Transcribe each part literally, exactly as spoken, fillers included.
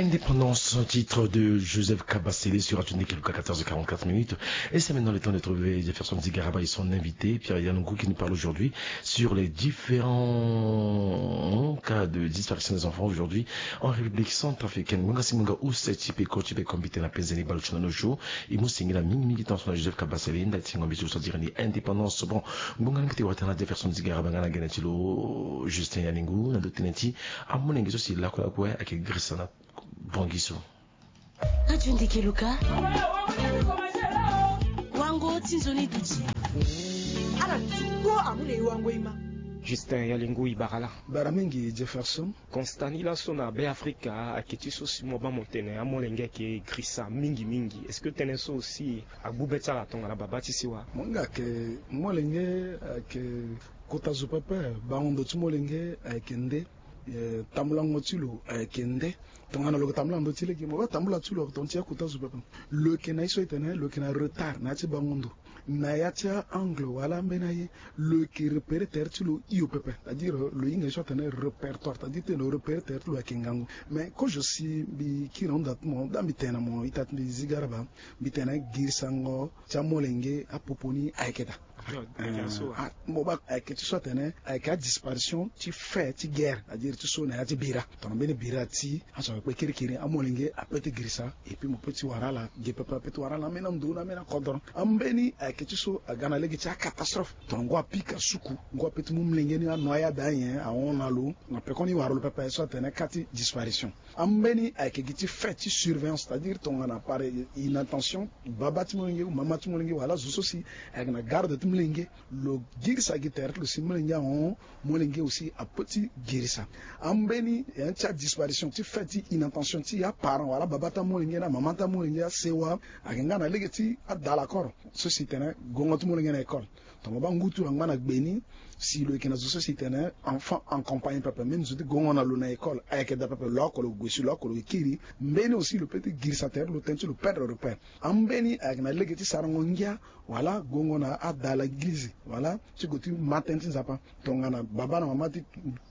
Indépendance, titre de Joseph Kabasele sur Radio Ndekeluka, quatorze heures quarante-quatre minutes. Et c'est maintenant le temps de trouver Jefferson Zigaraba et son invité, Pierre Yanungu, qui nous parle aujourd'hui sur les différents cas de disparition des enfants aujourd'hui en République centrafricaine. Ngonga si ngonga use ti peko ti peko mbite na penzeni balo ti na nojo. E mu singila mingi mingi tanso na Joseph Kabasele nda ti ngombe ti lo so diri ni Indépendance. Bon, ngonga ni mbite wata na Jefferson Zigaraba nga na gene ti lo Justin Yanungu na ndo tene ti amolenge so si lakue lakue ayeke girisa na Bongi so. Radio Ndekeluka. Wango ti nzoni duti. Ala ti kpo amu na e wango e ma. Justin Yanungu, e bara laa? Bara mingi Jefferson. Constat ni laso na Be Afrika ayeke ti so si mo baa mo tene amolenge ayeke girisa mingi mingi. Est-ce que tënë so aussi agbu be ti ala tongana babâ ti sewa? Mo hinga ayeke molenge ayeke kota zo pepe, bango ndo ti molenge ayeke nde. Eh, tambulango ti lo ayeke nde. Tongana lo yeke tambula na ndö ti lege, mo baa tambula ti lo tongana ti akota zo pepe. Lo yeke na ye so e tene lo yeke na retard na ya ti bango ndo, na ya ti a-angle wala ambeni aye. Lo yeke repérer tere ti lo hio pepe, c'est-à-dire lo hinga ye so atene répertoire, c'est-à-dire tene lo repérer tere ti lo ayeke ngangu. Mais kozo si mbi kiri na hunda ti mo, daa mbi tene na mo ita ti mbi Zigaraba, mbi tene girisango ti amolenge apopo ni ayeke daa. Mo baa ayeke ti so atene ayeke adisparition ti fait ti guerre, c'est-à-dire ti so na ya ti bira. Tongana mbeni bira ti azo ayeke kpe kirikiri, amolenge ape ti girisa. Et puis mo pe ti wara ala ge pepe, ape ti wara ala ambeni ando na ambeni akodro. Ambeni ayeke ti so aga na lege ti acatastrophe. Tongana ngu apika suku, ngu ape ti mu molenge ni anoyade anyen ahon na lo, na pekoni wara lo pepe so atene cas ti disparition. Ambeni ayeke gi ti fait ti surveillance, c'est-à-dire tongana par inattention babâ ti molenge ou mama ti molenge wala zo so si ayeke na garde ti molenge, lo girisa gi tere ti lo si molenge ahon, molenge aussi ape ti girisa. Ambeni eh, ti adisparition ti fait ti inattention ti aparent wala babâ ti amolenge na mama ti amolenge asewa, ayeke nga na lege ti adala koro so si tene gongo ti molenge na école. Tongana mo baa ngu ti lo angba na gbe ni, si lo yeke na zo so si tene enfant en compagnie pepe, même zo ti gongo na lo na école ayeke daa pepe, lo oko lo gue si lo oko lo kiri, mbeni aussi lo pe ti girisa tere ti lo tënë ti lo perdre repère. Ambeni ayeke na lege ti sarango ngia wala gongo na adala eglize wala ti gue ti ma tënë ti Nzapa. Tongana babâ na mama ti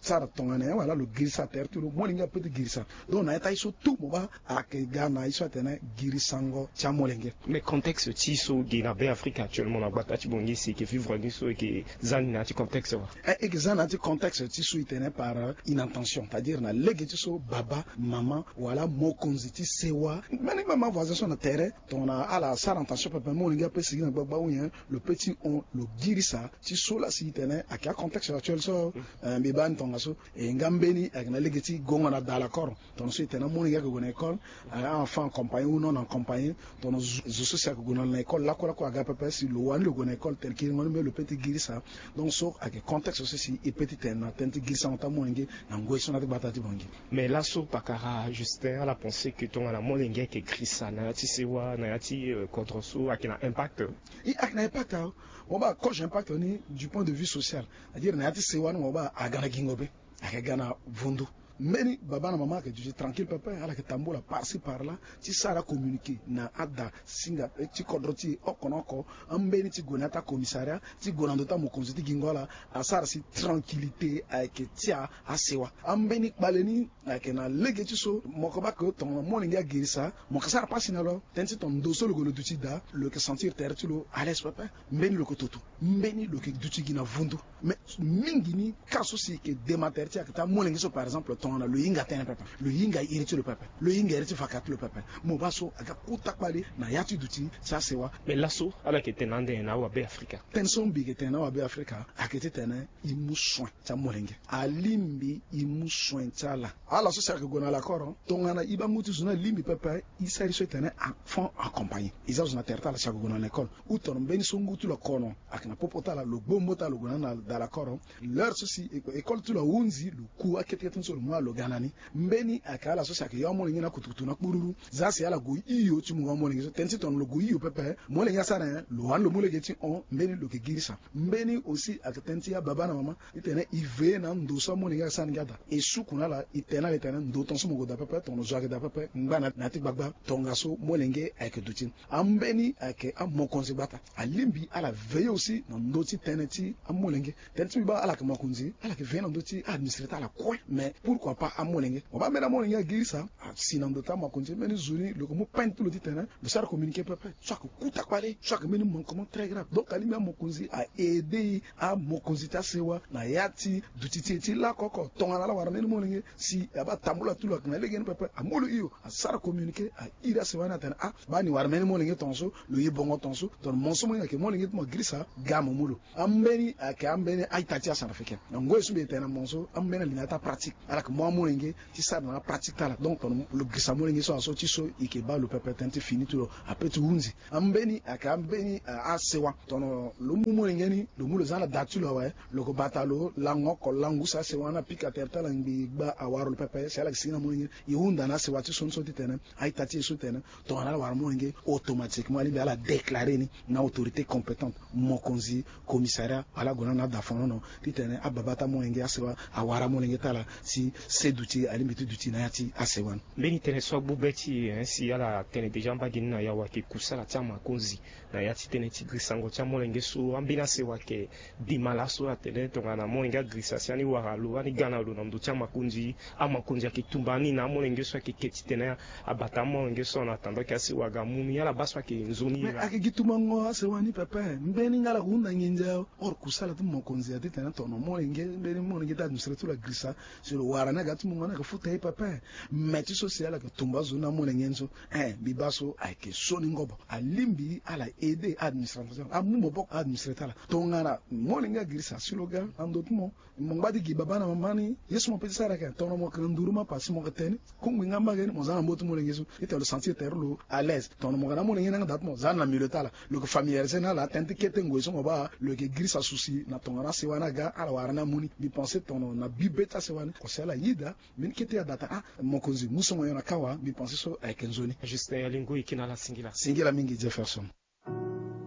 sara tongana nyen wala lo girisa tere ti lo, molenge ape ti girisa. Donc na ya ti aye so tout mo baa ayeke ga na ye so atene girisango ti amolenge. Mais contexte ti so ge na Be Afrika actuellement na gbata ti Bongi si e yeke vivre ni so e yeke za ni na ya ti contexte wa? Eh, e yeke za na ya ti contexte ti so e tene par inattention, c'est-à-dire na lege ti so babâ, mama wala mokonzi ti sewa, mbeni même avoisin so na tere, tongana ala sara attention pepe, molenge ape sigi na gbagba ou nyen, lo pe ti hon, lo girisa ti so laa si e tene ayeke acontexte actuel so. Eh, mbi baa ni tongaso. E nga mbeni ayeke na lege ti gongo na dala koro. Tongana so e tene amolenge ayeke gue na école, eh, enfant en compagnie ou non en compagnie, tongana zo, zo so si ayeke gue na lo na école lakue lakue aga pepe, si lo wani lo gue na école, tene kiringo ni mbeni lo pe ti girisa. Donc so ayeke contexte so si e pe ti tene na tënë ti girisango ti amolenge na ngoi so na ya ti gbata ti Bongi. Mais laso pakara Justin ala pense que tongana molenge ayeke girisa na ya ti sewa, na ya ti, euh, kodro so ayeke na impact? I ayeke na impact awe. Mo baa kozo impact ni du point de vue social, c'est-à-dire na ya ti sewa ni mo baa aga na gingo be, ayeke ga na vundu. Mbeni babâ na mama ayeke duti tranquille pepe, ala yeke tambula par ci par là ti sara communiqué na ada singa, eh, ti kodro ti e oko na oko. Ambeni ti gue na ya ti acommissariat, ti gue na ndö ti amokonzi ti gingo ala, asara si tranquillité ayeke ti a asewa. Ambeni kpale ni ayeke na lege ti so mo yeke baa ke tongana molenge agirisa, mo yeke sara pasi na lo. Tënë ti tongana ndo so lo gue lo duti daa, lo yeke sentir tere ti lo à l'aise pepe. Mbeni lo yeke toto, mbeni lo yeke duti gi na vundu. Mais mingi ni cas so si e yeke dema tere ti e ayeke ti amolenge so, par exemple, tongana lo hinga tënë pepe, lo hinga iri ti lo pepe, lo hinga iri ti vaka ti lo pepe, mo baa so aga kota kpale na ya ti duti ti asewa. Mais laso ala yeke tene ande na awabe Afrika? Tënë so mbi yeke tene na awabe Afrika ayeke ti tene e mu soin ti amolenge. Alingbi e mu soin ti ala. Ala so si ayeke gue na lakoro, tongana e baa ngu ti zo ni alingbi pepe, e sara e so e tene enfant accompagné. E za zo na tere ti ala si ayeke gue na lekole. Ou tongana mbeni so ngu ti lo akono ayeke na popo ti ala, lo gbombo ti ala, lo gue na ni na da lakoro. L'heure so si école ti lo ahunzi, lo ku akete kete ni so lo mu ala lo ga na ni. Mbeni ayeke ala so si ayeke yo amolenge ni akutukutu na kpururu. Za si ala gue hio ti mungo amolenge so. Tënë ti tongana lo gue hio pepe, molenge asara nyen? Lo wani lo mu lege ti hon, mbeni lo yeke girisa. Mbeni aussi ayeke tënë ti ababa na mama ti tene e veiller na ando so amolenge asara ni gi ada. E suku na ala, e tene na ala e tene ndo tongaso mo gue daa pepe, tongana zo ayeke daa pepe, ngba na ya ti gbagba, tongaso molenge ayeke duti ni. Ambeni ayeke amokonzi gbata. Alingbi ala veiller aussi na ndö ti tënë ti amolenge. Tënë ti mbi baa ala yeke mokonzi, ala yeke veiller na ndö ti a-administrer ti ala kue. Mais pourquoi pas amolenge? Mo baa mbeni amolenge agirisa, Si na ndo ti amokonzi mbeni zo ni lo yeke mu peine ti lo titene lo sara communiqué pepe so ayeke kuta kpale so ayeke mbeni manquement très grave. Donc alingbi amokonzi a aidé amokonzi ti asewa na ya ti duti ti e ti lako oko tongana ala wara mbeni molenge si abaa tambula ti lo ayeke na legeni pepe amu lo hio asara communiqué a iri asewa ni atene ah baa ni wara mbeni molenge tongaso lo ye bongo tongaso. Tongana mo so mo hinga yeke molenge ti mo agirisa ga mo mu lo. Ambeni ayeke ambeni a-ita ti acentrafricain na ngoi so mbi yeke tene na mo so ambeni alingbi na ya ti apratike ala yeke mu amolenge ti sara na apratike ti ala donc tongana lo girisa molenge so aso ti so e yeke baa lo pepe tënë ti fini ti lo ape ti hunzi. Ambeni ayeke ambeni asewa tongana lo mu molenge ni lo mu lo za na da ti lo awe lo yeke bata lo lango oko langu si asewa ni apika tere ti ala ngbii gba awara lo pepe si ala yeke sigi na molenge ni. E hunda na asewa ti so ni so titene a-ita ti e so titene tongana ala wara molenge automatiquement alingbi ala déclaré ni na autorité compétente mokonzi commissariat wala ague na ni na dafonono titene ababa ti amolenge asewa awara amolenge ti ala si se duti alingbi ti duti na ya ti asewa ni. Mbeni tënë so agbu be ti e si ala tene déjà mbage ni na yawa ayeke kusala ti amakonzi na ya ti tënë ti girisango ti amolenge so ambeni asewa ayeke dima laso atene tongana amolenge agirisa si ani wara lo ani ga na lo na ndo ti amakonzi amakonzi ayeke tumba ni na amolenge so ayeke ke titene abata amolenge so en attendant ke asewa aga amu ni ala baa so ayeke nzoni mais ayeke gi tumbango asewa ni pepe mbeni nga ala ko hunda nginza. Or kusala ti mokonzi aye titene tongana molenge mbeni molenge ti administré ti lo agirisa si lo wara ni aga ti mungo ni ayeke futa ye pepe. Mais ti so si ala yeke tumba azo ni na amolenge ni so eh mbi baa so ayeke so ni ngobo alingbi ala aidé administration amu maboko administré ti ala tongana molenge agirisa si lo ga na ndo ti mo. Mo ngba ti gi baba na mama ni ye so mo pe ti sara yeke tongana mo yeke na nduru mapa si mo yeke tene ni kungbi nga mbage ni mo za na mbo ti molenge so titene lo sentir tere lo à l'aise tongana mo yeke na amolenge ni yanga daa ti mo za na milieu ti ala lo yeke familiarisé na ala tënë ti kete ngoi so mo baa lo yeke girisa susi na tongana asewa ni aga ala wara ni amu ni mbi pensé tongana na bi be ti asewa ni ko si ala yeda. Mbeni kete ya daa tene ah mokonzi mu songo nyon na kawa mbi pensé so ayeke nzoni. Justin alingui e ke na ala singila. Singila mingi Jefferson.